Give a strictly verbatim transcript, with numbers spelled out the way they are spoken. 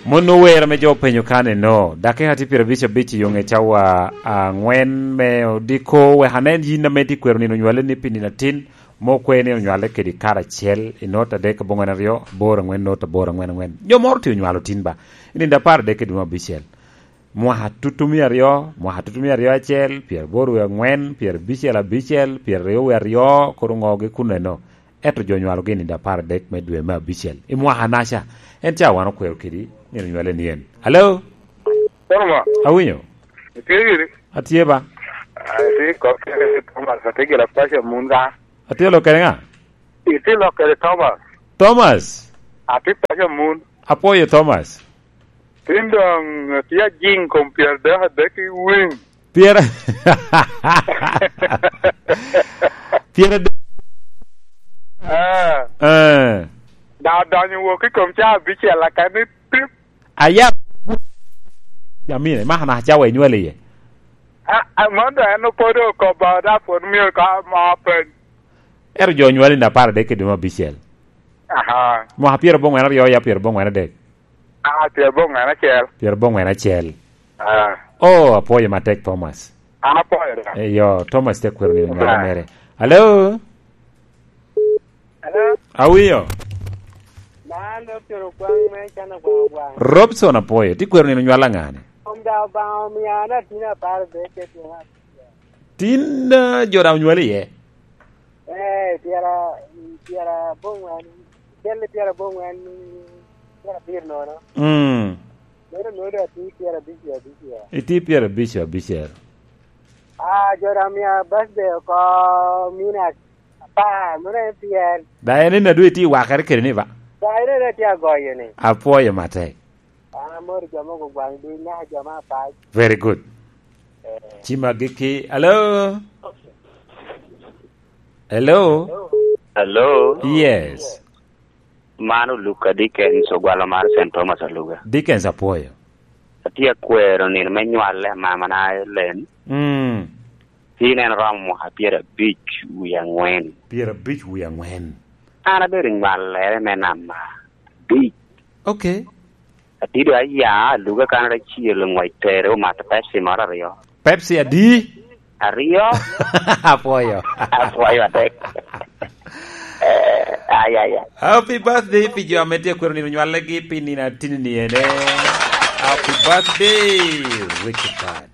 Mon ower ame jo openyo kan eno, dakika tye pyerabic abic i yo ŋe cawa aŋwen me odiko, wek anen yin ame tye kwero nino nywale ni pi nino atin, mo kwe nino nywale kedi kare acel, i not adek aboŋwen aryo, aboro aŋwen not aboro aŋwen aŋwen. Jo moro tye onywalo tin ba, i nino apar adek kedi mo abicel. Mwaka tutu mia aryo, mwaka tutu mia aryo acel, pyeraboro wie aŋwen, pyerabicel abicel, pyeraryo wie aryo, kor oŋogi kun eno. Ento jo onywalogi i nino apar adek me dwe me abicel. I mwaka naca, en ca wan okwero kedi, nino nywale ni en. Alo? Korma. Awinyo? Itye giri? Atye ba. Ah, itye kop kede Thomas, atye gire paco mun ka. Atye lo kede ŋa? Itye lo kede Thomas. Thomas? Atye paco mun. Apwoyo Thomas. Tin doŋ atye ajiŋ kom pyera dek adek i winy. Pyera, pyera dek. Ah. Eh. Da donyo wok i kom ca abicel akani pip. Aya. Jamine, maka naka cawa inywale iye. Ah, ah, mondo en opodo okobo da pwod mio ka ma peny. Ero jo onywale na apar adek i dwe me abicel. Aha. Mwaka pyera boŋwen aryo ya pyera boŋwen adek. Ah, pyera boŋwen acel. Pyera boŋwen acel. Ah. Oh, apwoyo matek, Thomas. An apwoyo da. Eh, yo, Thomas te kwero ni onywale mere. Hello? Hello? Awinyo? Man Robson Ogwaŋ me Cana Ogwaŋ Ogwaŋ. Robson apwoyo. Ti kwero ni onywale aŋane? Om da Obaŋa omia an atin apar adek ke tyen. Tin, ah, jo da onywale iye? Eh, pyera, pyera boŋwen, cel pyera boŋwen, pyera abiro nono. Mm. Meno nono atye pyera abic abic. Itye pyera abic abic. Ah, jo da mia birthday oko mina apar, mano en pyen. Da en en adwe itye wakere kede ni ba? Da en en atye agoyo ni. Apwoyo matek. An amoro jo mogo gwaŋ duny naka jo me apac. Very good. Eh. Cima giki. Hello? Hello? Hello? Yes. Man Oluka Dickens, ogwalo mar Saint Thomas Aluga. Dickens apwoyo. Atye akwero nino me nywale amamana Ellen. Mm. Tin en romo mwaka pyera abic wie aŋwen. Pyera abic wie aŋwen. An abedo nywallere me namba abic. Okay. Atido aya, aluga kan acel ŋwec tere omato Pepsi moro aryo. Pepsi adi? Aryo. Apwoyo. Apwoyo atek. Eh, ay, ay, ay. Happy birthday pi jo ame tye akwero nino nywalegi pi nino atinni ene. Happy birthday, Richard.